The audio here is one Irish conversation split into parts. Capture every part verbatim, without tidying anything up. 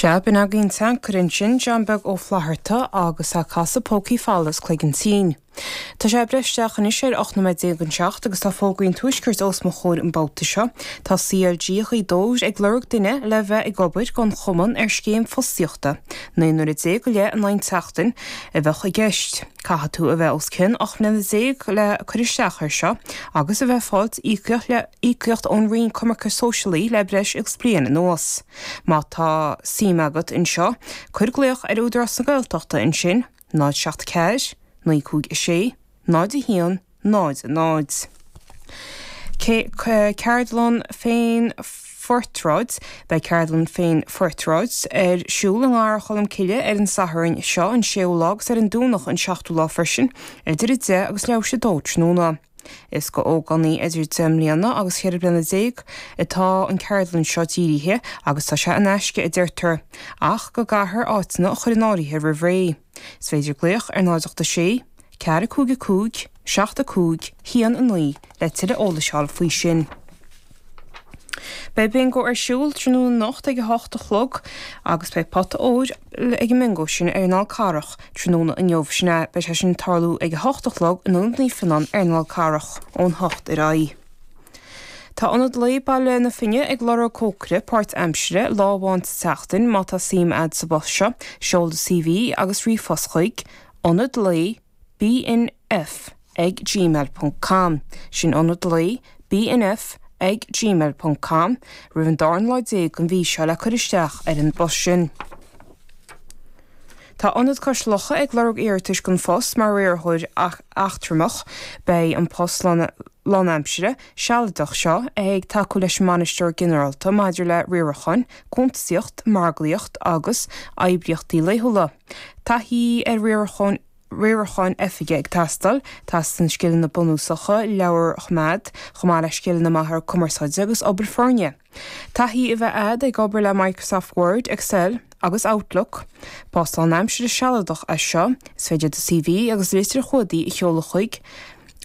Sea, b'in againn an t-ancaire ansin, John Beag Ó Flatharta agus a' casadh Pócaí Folamh is Cloigeann Tinn. Tá sé ag breith isteach anois ar ocht nóiméad déag don seacht agus tá fógraí an Tuaiscirt os mo chomhair an babhta seo. Tá C L G Ghaoth Dobhair ag lorg duine le bheith ag obair don chumann ar scéim fostaíochta. Naoi n-uaire déag go leith in aghaidh tseachtain a bheadh i gceist. Caithfidh tú a bheith os cionn ocht mbliana déag le cur isteach ar seo agus a bheith ag fáil íocaíocht le íocaíocht ón Roinn Coimirce Sóisialaí le breis agus bliain anuas. Má tá suim agat anseo, cuir glaoch ar Údarás na Gaeltachta ansin, náid seacht ceathair, naoi cúig a sé, náid a haon, náid a náid. Ceardlann féin-phortráid. Beidh ceardlann féin-phortráid ar siúl i nGarraí Cholm Cille ar an Satharn seo, an séú lá, agus ar an Domhnach, an seachtú lá freisin, idir a deich agus leathuair tar éis a dó tráthnóna. Is go ógánaigh idir deich mbliana agus cheithre bliana déag atá an ceardlann seo dírithe agus tá sé in aisce, a deirtear, ach go gcaithfear áiteanna a chur in áirithe roimh ré. Is féidir glaoch ar náid ocht a sé, ceathair cúig a cúig, seacht a cúig, haon a naoi le tuilleadh eolais a fháil faoi sin. Beidh bingo ar siúl tráthnóna anocht ag a hocht a chlog agus beidh pota óir ag an mbingo sin ar an Fhál Carrach tráthnóna inniu. Sin é, beidh sé sin tarlú ag a hocht a chlog in Ionad Naomh Fionnán ar an Fhál Carrach ón hocht ar aghaidh. Tá Ionad Lae Baile na Finne ag lorg cócaire páirtaimseartha lá amháin sa tseachtain. Má tá suim agat sa bpost seo, seol do C V agus ríomhphost chuig ionad lae B N F ag gmail ponc com. Sin ionad lae B N F ag gmail ponc com roimh an dara lá déag den mhí seo le cur isteach ar an bpost sin. Tá Ionad Cois Locha ag lorg iarratais don phost mar riarthóir eachtrach. Beidh an post lánaimseartha sealadach seo ag tacú leis an mbainisteoir ginearálta maidir le riarachán, cuntasaíocht, margaíocht agus oibríochtaí laethúla. Taithí ar riarachán riaracháin oifige ag teastáil. Teastaíonn scileanna bunúsacha leabhar a choimeád, chomh maith le scileanna maithe cumarsáide agus obair foirne. Taithí a bheith agat ag obair le Microsoft Word, Excel agus Outlook. Post lánaimseartha sealadach é seo. Is féidir do C V agus litir chuardaigh a sheoladh chuig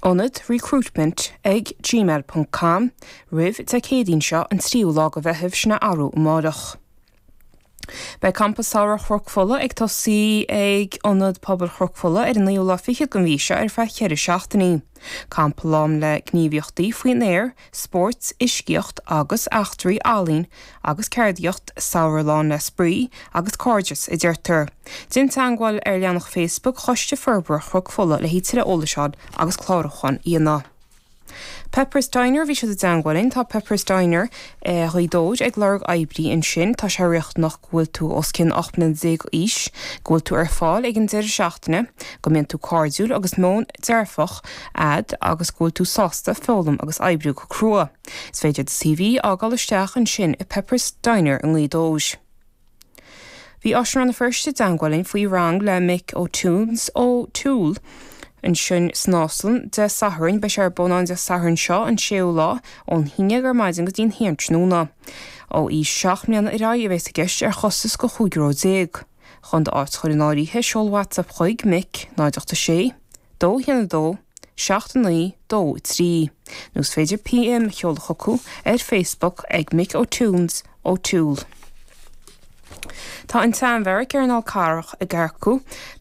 ionad recruitment ag gmail ponc com roimh Dé Céadaoin seo, an tríú lá de Mheitheamh, sin arú amárach. Beidh campa samhraidh Chnoc Fola ag tosaí ag Ionad Pobail Chnoc Fola ar an naoú lá fichead den mhí seo ar feadh ceithre seachtainí. Campa lán le gníomhaíochtaí faoin aer, spóirt, uiscíocht agus eachtraí, ealaín agus ceardaíocht, samhradh lán le spraoi agus cairdeas, a deirtear. Déan teagmháil ar leathanach Facebook Choiste Forbartha Chnoc Fola le tuilleadh eolais agus clárúchán a dhéanamh. Peppers Diner, bhí siad i dteagmháil linn. Tá Peppers Diner eh, Ghaoth Dobhair ag lorg oibrí ansin. Tá sé riachtanach go bhfuil tú os cionn ocht mbliana déag d'aois, go bhfuil tú ar fáil ag an deireadh seachtaine, go mbíonn tú cairdiúil agus meon dearfach agat agus go bhfuil tú sásta foghlaim agus oibriú go crua. Is féidir do C V a fhágáil isteach ansin i Peppers Diner i nGaoth Dobhair. Bhí Áislann Rann na Feirste i dteagmháil linn faoi rang le Mick O'Tunes O'Toole ansin san Áislann Dé Sathairn. Beidh sé ar bun an Dé Sathairn seo, an séú lá, ón haon déag ar maidin go dtí'n haon tráthnóna. Ó aois seacht mbliana ar aghaidh a bheas i gceist ar chostas go chúig euro déag. Chun d'áit a chur in áirithe, seol WhatsApp chuig Mick náid ocht sé, dó haon dó, seacht naoi dó trí. Nó is féidir P M a sheoladh chucu ar Facebook ag Mick O'Tunes O'Toole. Tá an tSeanbheairic ar an Fhál Carrach ag earcú.